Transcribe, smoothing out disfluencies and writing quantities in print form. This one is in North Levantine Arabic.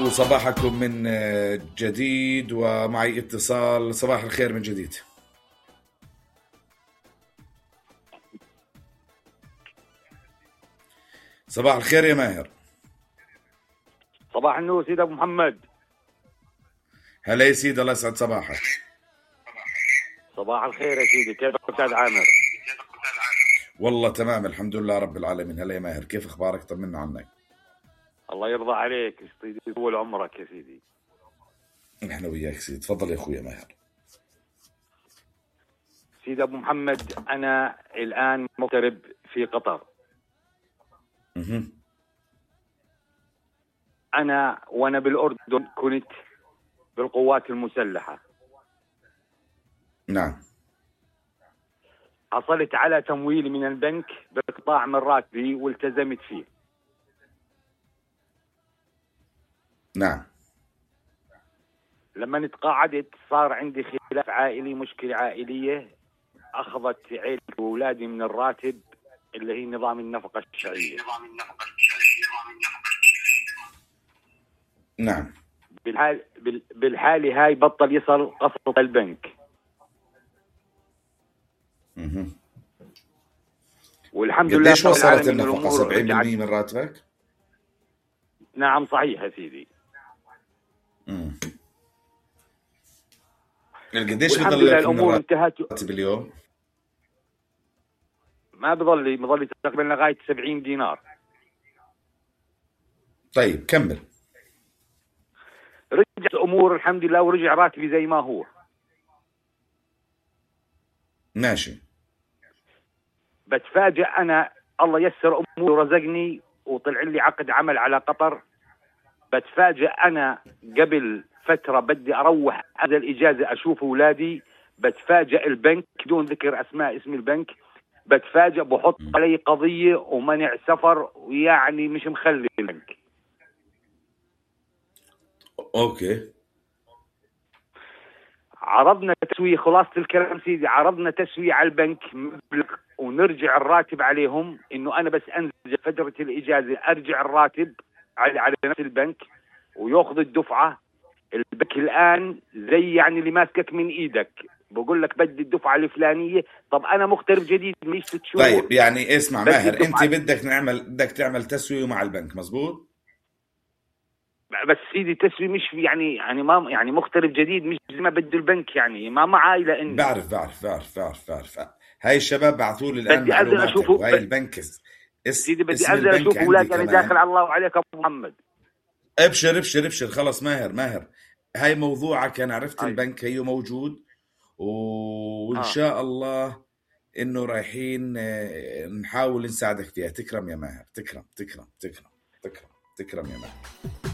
وصباحكم من جديد ومعي اتصال. صباح الخير من جديد. صباح الخير يا ماهر. صباح النور سيد أبو محمد. هلا يا سيدي، الله يسعد صباحك. صباح الخير يا سيدي، كيفك أستاذ عامر؟ والله تمام الحمد لله رب العالمين. هلا يا ماهر، كيف أخبارك؟ طمنا عنك. الله يرضى عليك، يطول عمرك يا سيدي. نحن وياك سيدي. تفضل يا أخويا ماهر. سيد أبو محمد، أنا الآن مغترب في قطر. أنا وأنا بالأردن كنت بالقوات المسلحة. نعم. حصلت على تمويل من البنك بقطاع من راتبي والتزمت فيه. نعم. لما تقاعدت صار عندي خلاف عائلي، مشكلة عائلية، أخذت عيلتي وأولادي من الراتب اللي هي نظام النفقة الشهرية. نعم. بالحالة هاي بطل يصل قسط البنك. والحمد لله. قديش وصلت النفقة؟ 70% من راتبك؟ نعم صحيح يا سيدي. قديش بضل لك الأمور انتهت باليوم؟ ما بضل تقريبا لغاية 70 دينار. طيب كمل. رجعت الأمور الحمد لله ورجع راتبي زي ما هو. ماشي. بتفاجأ أنا، الله يسر أموري ورزقني وطلع لي عقد عمل على قطر. بتفاجأ أنا قبل فترة بدي أروح هذا الإجازة أشوف أولادي، بتفاجأ البنك دون ذكر أسماء اسم البنك، بتفاجأ بحط علي قضية ومنع سفر، ويعني مش مخلي البنك. أوكي. عرضنا تسوية، خلاصة الكلام سيدي، عرضنا تسوية على البنك مبلغ ونرجع الراتب عليهم، إنه أنا بس أنزل فترة الإجازة أرجع الراتب على نفس البنك ويأخذ الدفعة. البنك الآن زي يعني اللي ماسكك من إيدك، بقول لك بدي الدفعة الفلانية. طب أنا مغترب جديد مش 6 شهور. طيب يعني اسمع ماهر، أنت بدك تعمل تسوية مع البنك، مزبوط؟ بس سيدي تسوي مش يعني ما يعني مغترب جديد، مش زي ما بده البنك، يعني ما عائلة إني. بعرف. هاي الشباب بعثوا لي الآن معلوماتك وهاي البنك سيدي بدي أنزل أشوف أولادي. أنا داخل على الله وعليك أبو محمد. ابشر خلص ماهر هاي موضوعك. أنا عرفت البنك هي موجود وإن شاء الله إنه رايحين نحاول نساعدك فيها. تكرم يا ماهر، تكرم يا ماهر.